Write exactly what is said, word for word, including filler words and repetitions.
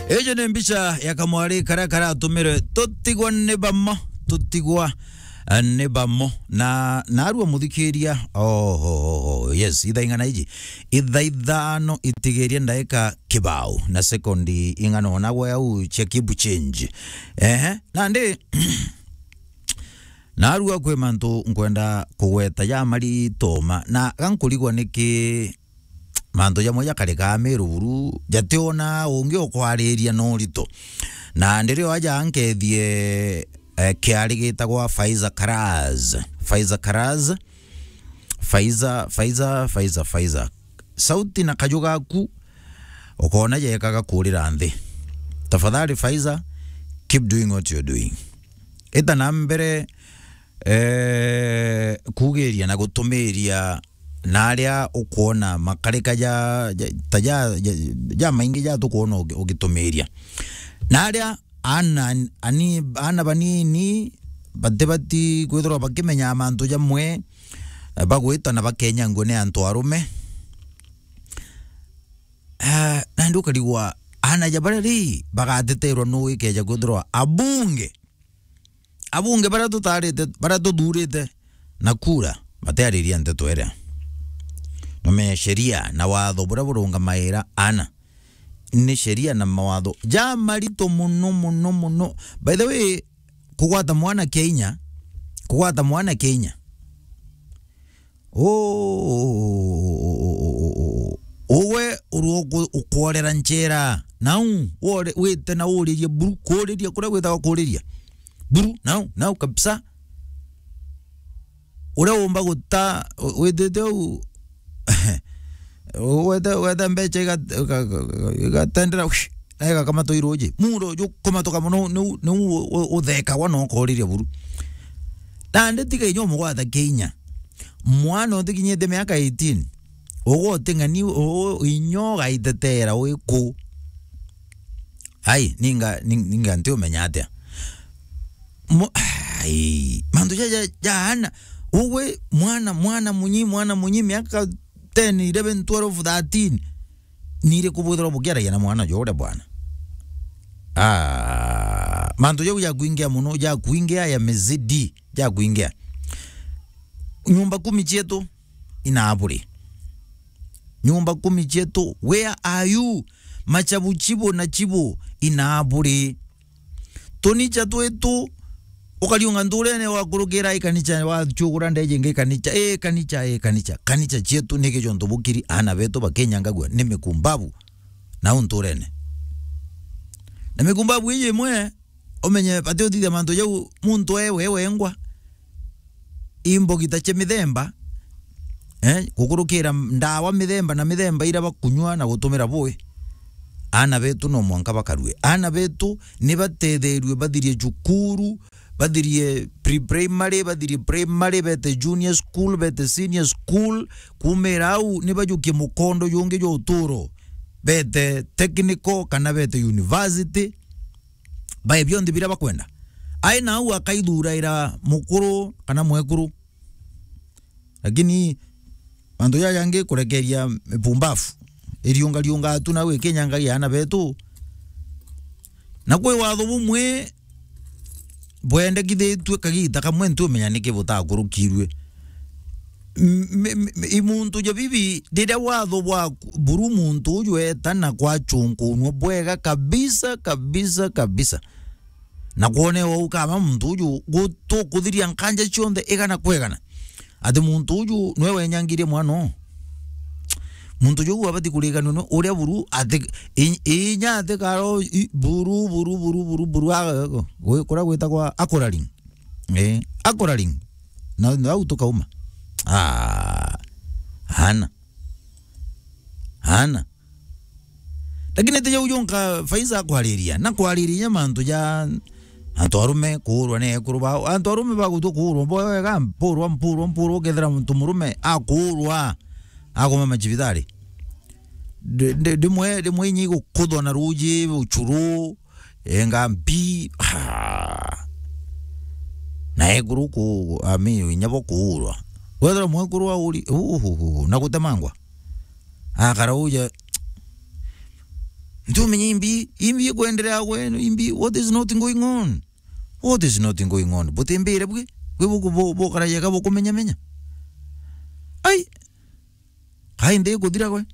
Iji ni mbica ya kamwari karia karatumire tutigwa ni bamo, tutigwa, eh, ni bamo. Na narua muthikiria, oh, oh, oh, oh, yes, ithaa ing'ana iji? Ithaa ithano itigirie ndaika kibao na sekondi ing'ana ona gwe au cia kibu change. Ehe, nandi, narua kwi mantu nkwenda kugweta ja marito ma, na gankurigwa niki mantu jamwe jakarikaa Meru buru, jationa ungi ukwariria na urito. Na ndirio aja ankethie, eh, kiari gitagwa Faiza Karaz. Faiza Karaz. Faiza, Faiza, Faiza, Faiza. Sauti na kaju gaku, ukona jekaga kurira nthi. Tafadhali Faiza, keep doing what you're doing. Ita na mbere, eh, kugiria na gutumiria na aria ukwona makarika ja, ja, ta ja, ja, ja maingi ja tukwona ugi-, ugitumiria. Na aria ana, ani, ana banini batibati kwithirwa bakimenya mantu jamwe, eh, bagwitana bakenyangua ni antu arume. Eh, nandi ukarigwa ana ja baria ri bagateterwa nu ikeja kwithirwa abunge. Abunge baria tutarite, baria tuthurite na kura, batiariria nteto iria. Numenye sheria na watho buria burungamaira ana. Ni sheria na mawatho ja marito muno, muno, muno. By the way, kugwata mwana Kenya, kugwata mwana Kenya. Ugwe urwo uku-, ukworera nchera. Nau, wore-, wite na uririe buru, kuriria, kuria gwitagwa kuriria. Buru, nau, nau kabisa. Uria umba guta, witite u, wete, wete mbecha iga-, iga-, iga-, igatendera, na igakamata iruji. Muuro jukumatuka muno, niu, niu u-, u-, uthekagwa na ukoriria buru. Nandi tiga inya umugwata Kenya. Mwana utikinyite miaka eighteen, ugwe uting'ani, u-, inya ugaitetera wi ku? Ai, ninga, ning-, ninga ntiumenya atia? Mo-, ai, mantu ja, ja, jaana. Ugwe mwana, mwana munyi, mwana munyi, miaka ten, eleven, twelve, thirteen. Ni iriku bwithirwa bukiaragia na mwana juria bwana? Ah, mantu jau jakuingia muno, jakuingia yamezidi, jakuingia. Nyumba kumi cietu inaaburi. Nyumba kumi cietu, where are you? Machabu chibo na chibo inaaburi. Tunicha twitu, ukariunga nturene, wakurukira i kanicha, wachugura ndeje ingi kanicha, i kanicha, i kanicha. Kanicha cietu niki jontu bukiri ana betu bakinyangagua ni mikumbabu nau nturene. Na mikumbabu iji imwe, umenye bati uthithia mantu jau muntu e we wengwa. Imbogita cia mithemba, eh, gukurukira ndawa mithemba na mithemba iria bakunywa na gutumira bui. Ana betu no mwanka bakarue. Ana betu ni batetherue bathirie cukuru, bathirie pre-primary, bathirie primary, bete junior school, bete senior school, kumira au ni bajukie mukondo jungi jwa uturo, bete technical kana bete university. Bae bionthe biria bakwenda. Ai nau akaithuraira mukuru kana mwekuru. Lakini mantu jaja jangi kurekeria mipumbafu iriungariunga tu nau ikinyangagia ana betu. Na kwi watho bumwe bwendekithitue kagita kamwe, ntiumenya niki butakurukirue. M-, m-, m-, i muntu ja bibi, riria watho bwa buru muntu uju eta na kwachunkunua bwega kabisa, kabisa, kabisa. Na kwone wau kama muntu uju gutukuthiria nkanja cionthe igana kwa igana. Ati muntu uju nwe wenyangirie mwana uu. Muntu uju abati kuriganua ni uria buru ati i-, inya ati karo i-, buru, buru, buru, buru, buru, a-, gwi-, kuria gwitagwa Akuraring. Eh, Akuraring. Na, na au tukauma. Ah, hana. Hana. Lakini ti jau jonka Faiza akwariria, na kwariria mantu ja antu arume kuurwa ni ekuru bao. Antu arume bagutua kuurwa bo wega, mpurwa, mpurwa, mpurwa, ukethira muntu murume akuurwa, akoma macibitari. Ndi-, ndi-, ndimwe, ndimwe inya igukuthwa na ruuji, uchuru, enga mbi, ah. Na ekuru ku, ami, inya bo kuurwa. Wethira mwekuru auri, uhuhu, na gutemangwa. Akara uja, Tumenye imbi, imbi ikwenderea gwe, imbi, what is not going on? What is not going on? Butimbire bwi, bwi buku-, bu-, bukaragia ka bukumenyamenya. Ai! Kai nthi ikuthira gwe?